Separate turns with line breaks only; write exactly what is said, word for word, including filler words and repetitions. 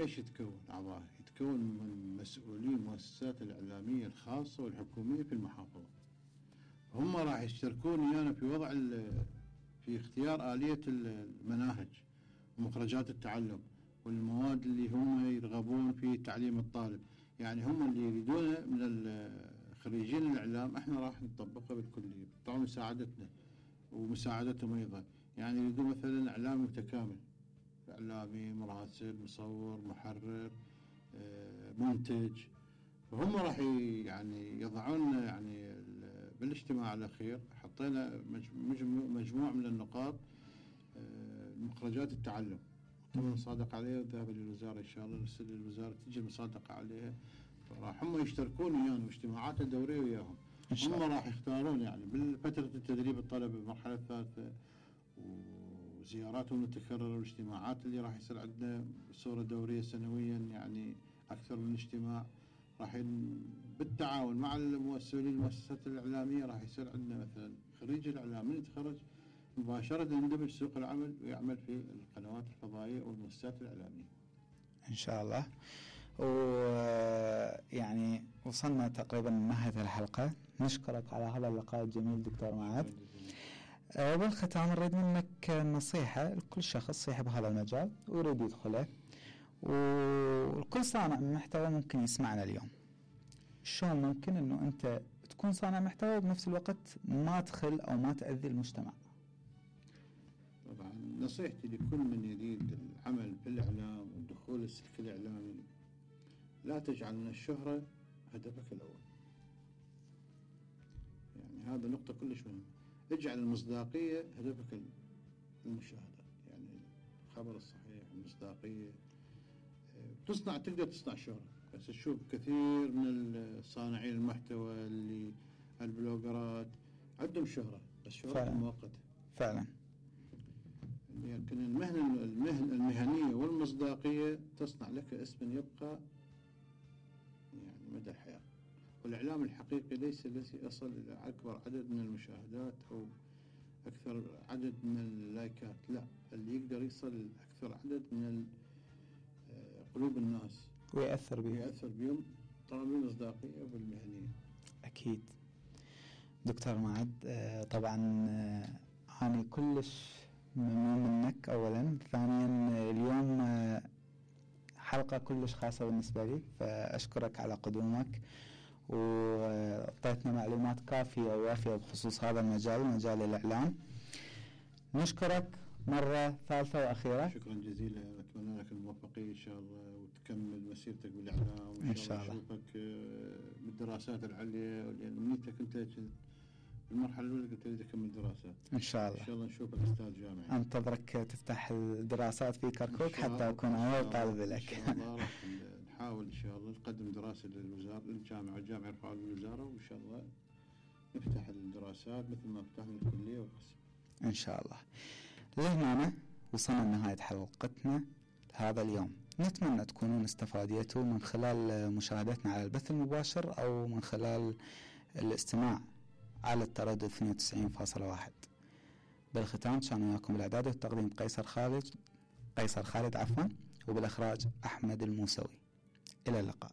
ايش يتكون اعضائه؟ يتكون من مسؤولين المؤسسات الاعلاميه الخاصه والحكوميه في المحافظه. هم راح يشتركون ويانا في وضع في اختيار آلية المناهج ومخرجات التعلم والمواد اللي هم يرغبون في تعليم الطالب. يعني هم اللي يريدونه من خريجين الإعلام احنا راح نطبقه بالكلية طبعا مساعدتنا ومساعدتهم أيضا. يعني يريدون مثلا إعلام متكامل، إعلامي، مراسل، مصور، محرر، منتج. فهم راح يعني يضعون يعني بالاجتماع الأخير حطينا مجموعة من النقاط مخرجات التعلم تم المصادقة عليها وذهب للوزارة إن شاء الله، نرسل للوزارة تجي المصادقة عليها. فراح هم يشتركون ويانا واجتماعات الدورية وياهم. هم راح يختارون يعني بالفترة التدريب الطلبة بالمرحلة الثالثة وزياراتهم المتكررة والاجتماعات اللي راح يصير عندنا بصورة دورية سنويا يعني أكثر من اجتماع. راح بالتعاون مع المؤسسين المؤسسات الإعلامية راح يصير عندنا مثلا خريج الإعلام من يتخرج مباشرة يندمج سوق العمل ويعمل في القنوات الفضائية والمؤسسات الإعلامية
إن شاء الله. ويعني وصلنا تقريبا لنهاية الحلقة. نشكرك على هذا اللقاء الجميل دكتور معاذ. بالختام نريد منك نصيحة لكل شخص يحب هذا المجال ويريد يدخله، والكل صانع محتوى ممكن يسمعنا اليوم. شلون ممكن انه انت تكون صانع محتوى وبنفس الوقت ما تخل او ما تأذي المجتمع؟
طبعا نصيحتي لكل من يريد العمل في الإعلام والدخول السلك الإعلامي، لا تجعل من الشهرة هدفك الأول. يعني هذا نقطة كلش مهمة. اجعل المصداقية هدفك المشاهدة، يعني الخبر الصحيح، المصداقية. تصنع تقدر تصنع شهرة، بس تشوف كثير من الصانعين المحتوى اللي البلوجرات عندهم شهرة بس شهرة مؤقتة
فعلا.
لكن المهنة المهنة المهنية والمصداقية تصنع لك اسم يبقى يعني مدى الحياة. والإعلام الحقيقي ليس الذي يصل إلى أكبر عدد من المشاهدات أو أكثر عدد من اللايكات، لا، اللي يقدر يصل أكثر عدد من قلوب الناس
ويأثر بهم
ويأثر بهم طبعا بالمصداقية وبالمهنية.
أكيد دكتور معاذ. طبعا أنا كلش ممنون منك أولا، ثانيا اليوم حلقة كلش خاصة بالنسبة لي، فأشكرك على قدومك وأعطيتنا معلومات كافية ووافية بخصوص هذا المجال، مجال الإعلام. نشكرك مرة ثالثة وأخيرة.
شكرا جزيلا، أتمنى لك الموفقية إن شاء الله وتكمل مسيرتك بالإعلام وإن شاء الله نشوفك بالدراسات العليا، لأن منيتك أنت المرحلة الأولى قلت لي تكمل دراسات
إن شاء الله.
إن شاء الله نشوفك أستاذ جامعي.
أنتظرك تفتح الدراسات في كركوك حتى أكون أول طالب لك.
إن شاء الله راح نحاول إن شاء الله نقدم دراسة للوزارة للجامعة والجامعة يرفعوا للوزارة، وإن شاء الله نفتح الدراسات مثل ما فتحنا الكلية والقسم
إن شاء الله. لهنا وصلنا لنهاية حلقتنا هذا اليوم. نتمنى تكونون استفاديتوا من خلال مشاهدتنا على البث المباشر أو من خلال الاستماع على التردد اثنين وتسعين فاصلة واحد. بالختام كان وياكم بالإعداد والتقديم قيصر خالد قيصر خالد عفوا وبالإخراج أحمد الموسوي. إلى اللقاء.